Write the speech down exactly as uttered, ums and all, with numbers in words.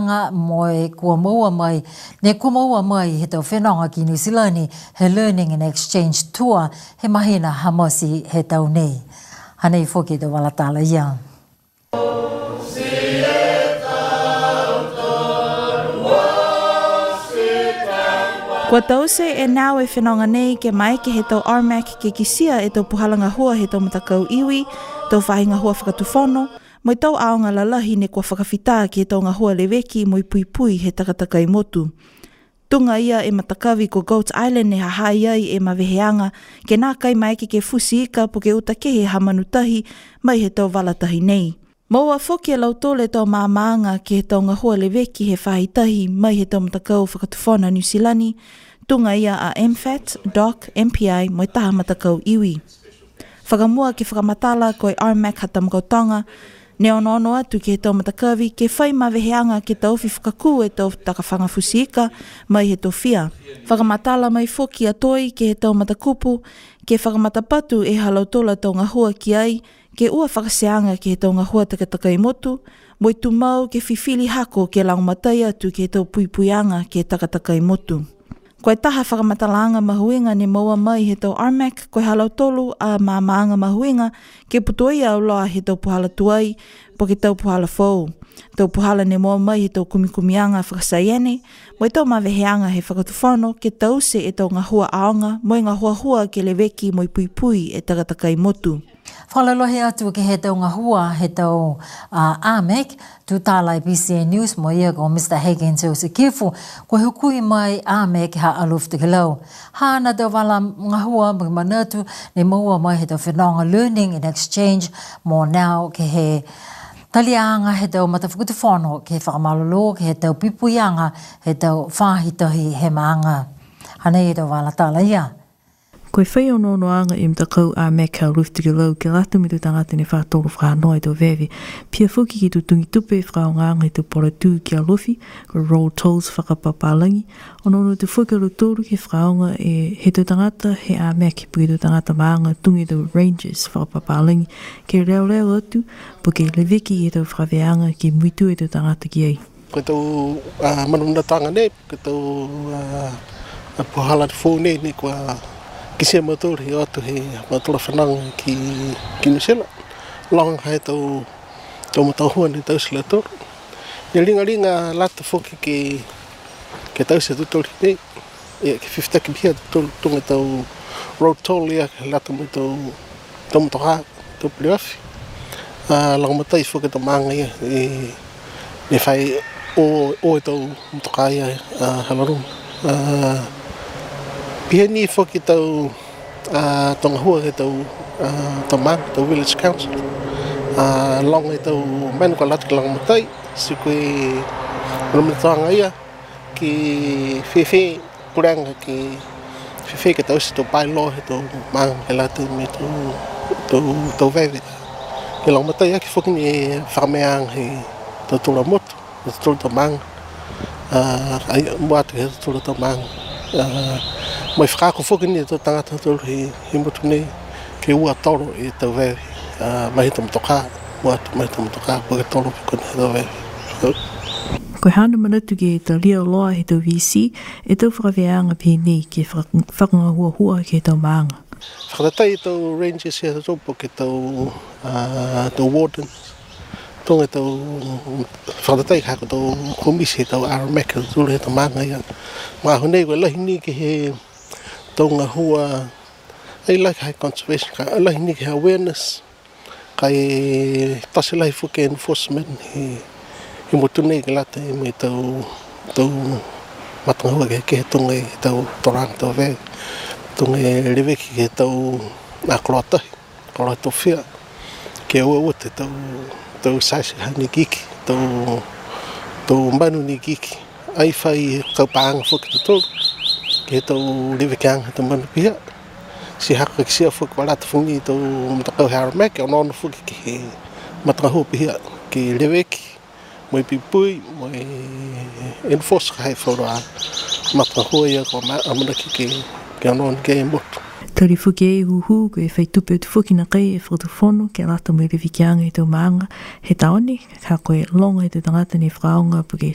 Nga mo e kua maua mai, ne kua maua mai he tau fenonga ki New Zealand he Learning and Exchange Tour he māhina ʻa Māʻasi he tau nei. Hangē foki ʻetau vala tala ia. Kua taʻu ʻe nau e fenonga nei ke maeke he tau R mac ke kitia ʻetau puhala ngahua he tau matakau iwi, tau faʻahi ngahua fakatufono, mo e tau ʻaonga lalahi ne kua fakafita ki he tau ngahua leveki mo e puipui he takatakai motu. Tuʻunga ia e matakavi ko Goat Island ne hahaʻi ai e maveheʻanga ke nākai maeke ke fusi ika pe ke ʻuta kehe ha manu tahi mai he tau vala tahi nei. Maua foki ʻe lautolu e tau maamaʻanga ki he tau ngahua leveki he faʻahitahi mai he tau matakau fakatufono New Zealand, tuʻunga ia ʻa M fat, DOC, M P I, mo e taha matakau iwi. Fakamua ke fakamatala ko e R mac ha tau maʻu tonga, ne onoono atu ki he tau matakavi ke fai maveheʻanga ke taʻofi fakakū e tau takafanga fusi ika mai he tofia. Fakamatala mai foki ʻa Toi ki he tau matakupu ke fakamatapatu ʻe ha lautolu tau ngahua ki ai, ke ʻoua fakaseanga ki he tau ngahua takatakai motu, mo e tumau ke fifili hako ke lagomatai atu ki he tau puipuiʻanga ki he takatakai motu. Ko e taha fakamatalaʻanga mahuʻinga ne maua mai he tau R mac, ko e ha lautolu ʻa e maamaʻanga mahuʻinga ke putoʻi ʻauloa he tau puhala tuai, pe ko e tau puhala fou. Tau puhala ne maua mai he tau kumikumiʻanga fakasaiene, mo e tau maveheʻanga he fakatufono ke taʻusi e tau ngahua ʻaonga, mo e ngahuahua ke leveki mo e puipui e takatakai motu. Fakalolohi atu ki he tau ngahua he tau, ʻa, R mac, tuʻu tala ʻi he B C N News mo ia ko Mr Higgins Joseph Kifu, ko e hukui mai R mac ha ʻAlo Fitu Ki Lau. Hana tau vala ngahua mo e manatu ne maua mai he tau fenonga Learning and Exchange mo Now ki he taliʻanga he tau matafakatufono ke fakamālōlō ki he tau puipuiʻanga he tau faʻahitahi he māʻanga. Hangē ʻetau vala tala ia. Ko e fai onoonoʻanga e matakau R mac ha ʻAlo Fitu Ki Lau ke lata mo e tau tangata ne fakatolo fakanoa e tau veve. Pea foki ke tutungi tupe fakaʻaongaʻanga e tau pola tū ki ʻAlofi, ko e roll tolls fakapapālangi. Onoono atu foki ʻa lautolu ke fakaʻaonga e he tau tangata he R mac, pe ko e tau tangata māʻanga tuʻunga e tau rangers fakapapālangi, ke leoleo atu, pe ke leveki e tau fakaveʻeʻanga ke muitū e tau tangata ki ai. Ko e tau, ʻa, manamanatuʻanga nei, ko e tau, ʻa, ʻa, puhala fou nei, ne kua kitia mautolu he ʻoatu he mautolu fānau ki, ki New Zealand. Longa he tau, tau matakau ngahua ne taʻusi ʻe lautolu. Ne lingalinga lata foki ke, ke taʻusi ʻe tautolu nei. ʻIa, ke fifitaki pē ʻa tautolu tuʻunga e tau roll toll ia ke lata mo e tau, tau motokā, tau peleoafi. ʻA, lagomatai foki e tau māʻanga ia, ʻe, ne fai ʻo, ʻo e tau motokā ia, ʻa, hala ruma. ʻA, pehē ni foki tau, ʻa, tau ngahua ki he tau, ʻa, tau māʻanga, tau village council. ʻA, longa e tau manu ka lata ke lagomatai, sio ko e manamanatuʻanga ia, ke fēfē, puleʻanga ke fēfē ke taʻusi e tau bylaw he tau māʻanga ke lata mo e tau, tau, tau veve. Ke lagomatai ʻaki foki ni e fakameʻaʻanga he tautolu ʻa motu, tautolu tau māʻanga. ʻA, ʻai, muʻa atu he tautolu tau māʻanga. ʻA, mo e fakaako foki ni e tau tangata tautolu he, he motu nei, ke ʻoua tolo e tau veve, ʻa, mai he tau motokā, muʻa atu mai he tau motokā, pe ko e tolo pe ko e tau veve. Ko e hana manatu ke talia ʻauloa he tau V C e tau fakaveʻeʻanga pehē nei ke faka-, fakangahuahua ki he tau māʻanga. Fakatatai e tau rangers ia tautolu pe ko e tau, ʻa, tau wardens. Tuʻunga e tau fakatatai ka ko e tau kōmisi he tau R mac tautolu he tau māʻanga ia. Mahalo ko e lahi ni ki he tau ngahua, ʻai lahi ki he conservation ka, lahi ni ki he awareness. Kae tasi lahi foki e enforcement he, he motu nei ke lata mo e tau, tau matangahua kehekehe tuʻunga e tau tolonga tau veve, tuʻunga e leveki ki he tau, ʻa, koloa tahi, koloa tofia, ke ʻoua ʻoua te tau, tau size ha ne ikiiki, tau, tau manu ne ikiiki. ʻAi fai kau paʻanga foki tautolu, ki he tau levekiʻanga he tau manu pehē. Siʻi hako ke kitia foki ʻoku lata foki e tau matakau he R mac, onoono foki ki he matangahua pehē, ke leveki, mo e puipui, mo e enforce ka he faʻahinga matangahua ia ko e ma-, ʻamanaki ke, ke onoono ki ai e motu. Tali foki e huhu, ko e fai tupe atu foki naʻe ʻai e fakatufono, ke lata mo e levekiʻanga he tau māʻanga, he taʻu ni, ka ko e longa he tau tangata ne fakaʻaonga pe ko e